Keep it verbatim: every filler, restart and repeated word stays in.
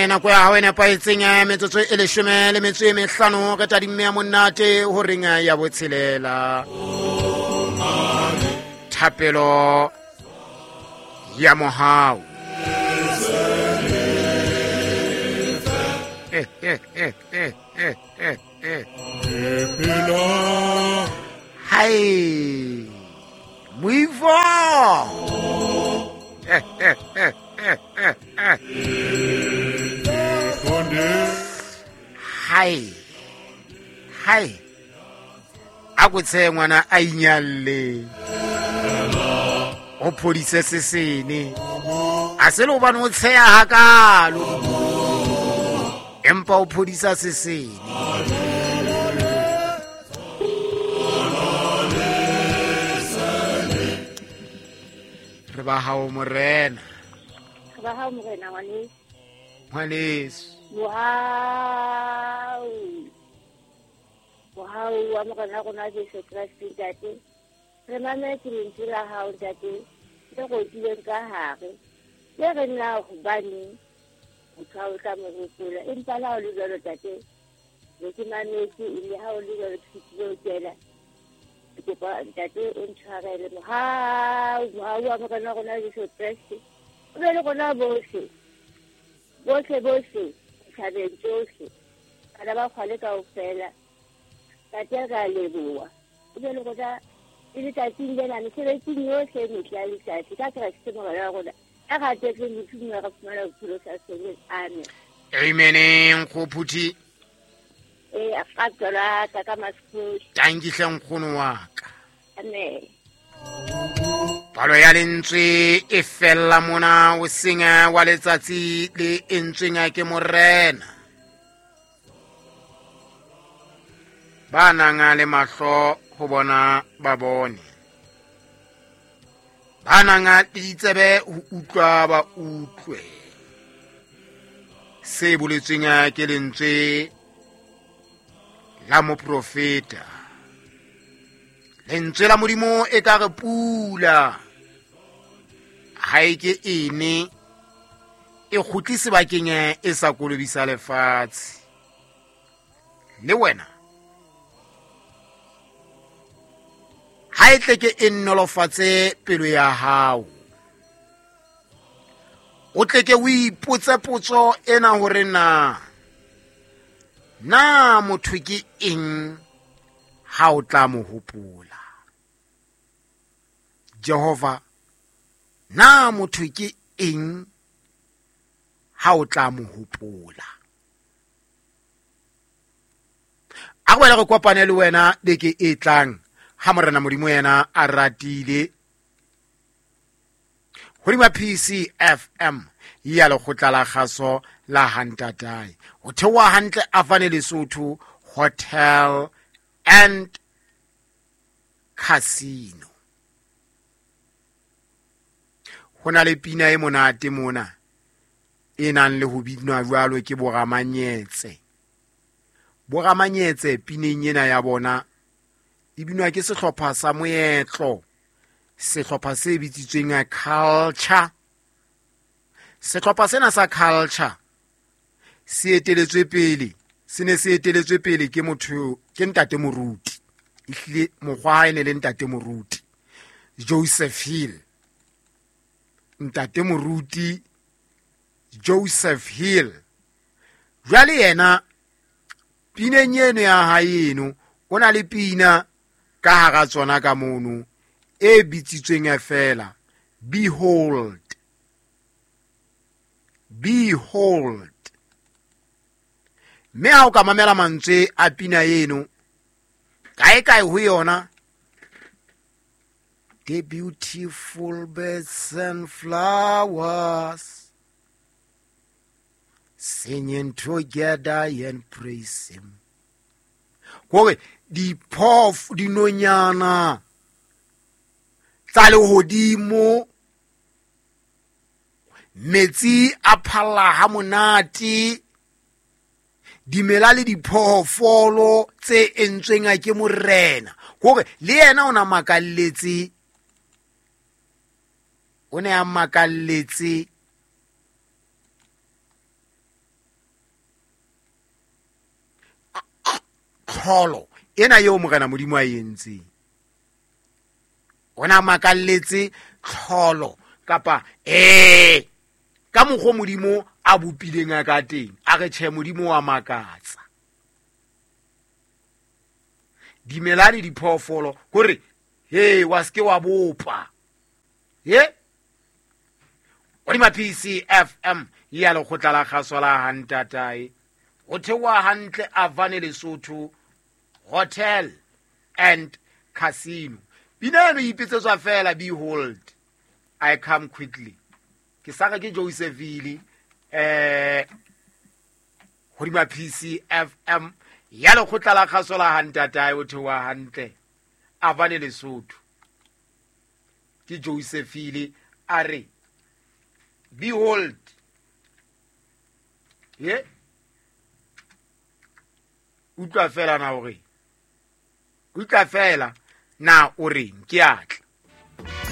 Jwale nako ya hao e nepahetseng metsotso e leshome le metso e mehlano re tadimme ya monate horeng ya botshelela. Thapelo ya mohau. Eh eh eh eh eh eh eh. Hai. Moifo. Eh eh eh eh eh eh. Hai. Hai. A go tshe ngwana a inyalle. O phodise sesene. A se le hobane o tsheya hakalo. Empa o phodisa sesene. Re ba hao morena. Re ba hao morena ngwaneso. Ngwaneso. Mohau. Mohau wa morena rona Jesu Kreste ntate. Re mametse lentswe la hao ntate le rotileng ka hare. Le re na hobane motho ha o tla mo hopola. Empa le ha o le jwalo ntate, be ke mametse le ha o le jwalo ke fetile ho kena. Ke kopa ntate o ntshwarele mohau, mohau wa morena rona Jesu Kreste. O be le rona bohle. Bohle bohle, ditjhabeng tsohle. Bana ba kgwale kaofela. Ntate re a leboha. O be le rona e letsatsing lena mesebetsing yohle e metle ya letsatsi ka Kreste morena wa rona. A ratetseng lephung re fumana bophelo sa feleng. Amen. Amen. Nkgophuthi. Eh, a ka tswela ka ka masekgosi. Tanki hle nkgono wa ka. Amen. Palo ya lentswe e fella mona o seng wa letsatsi le entsweng ke morena. Ba nang le mahlo ho bona ba bone. Ba nang le ditsebe ho utlwa ba utlwe. Se boletsweng ke lentswe la moprofeta. Lentswe la Modimo e ka re pula ha e ke ene e kgutle sebakeng e sa kolobisa lefatshe. Le wena ha e tle ke e nnolofatse pelo ya hao. O tle ke o ipotse potso ena hore na na motho ke eng ha o tla mo hopola. Jehova, na motho ke eng ha o tla mo hopola. A go re kopane le wena beke e tlang ha morena Modimo yena a ratile. Hodima P C F M ya lekgotla la kgaso la Hantatai. Ho theoha hantle Afane Lesotho Hotel and Casino. Ho na le pina e monate mona e nang le ho binwa jwalo ke boramanyetse. Boramanyetse pineng ena ya bona e binwa ke sehlopha sa moetlo, sehlopha se bitsitsweng culture. Sehlopha sena sa culture se eteletswe pele, se ne se eteletswe pele ke motho ke ntate moruti. Ehlile mokgwa ha e ne le ntate moruti Joseph Hill. Ntate moruti Joseph Hill. Jwale yena pineng eno ya hae eno o na le pina ka hara tsona ka mono e bitsitsweng fela Behold. Behold. Mme ha o ka mamela mantswe a pina eno kae kae ho yona, the beautiful birds and flowers singing together and praise him. Hore diphoofo dinonyana tsa lehodimo, metsi a phalla ha monate, dimela le diphoofolo tse entsweng ke morena. Hore le yena o na makalletse, o ne a makalletse tlholo ena eo Morena Modimo a e entseng. O na makalletse tlholo kapa eh ka mokgwa Modimo a bopileng a ka teng, a re tjhe Modimo wa makatsa. Dimela le diphoofolo hore he wa ske wa bopa. He Hodima P C F M ya lekgotla la kgaso la Hantatae. Ho theoha hantle Avane Lesotho Hotel and Casino. Pina eno e ipitsetswa fela, behold I come quickly. Ke sa re ke Josephine eh hodima P C F M ya lekgotla la kgaso la Hantatae. Ho theoha hantle Avane Lesotho. Ke Josephine a re behold. Ye utlwa fela na hore utlwa fela na o reng ke atla.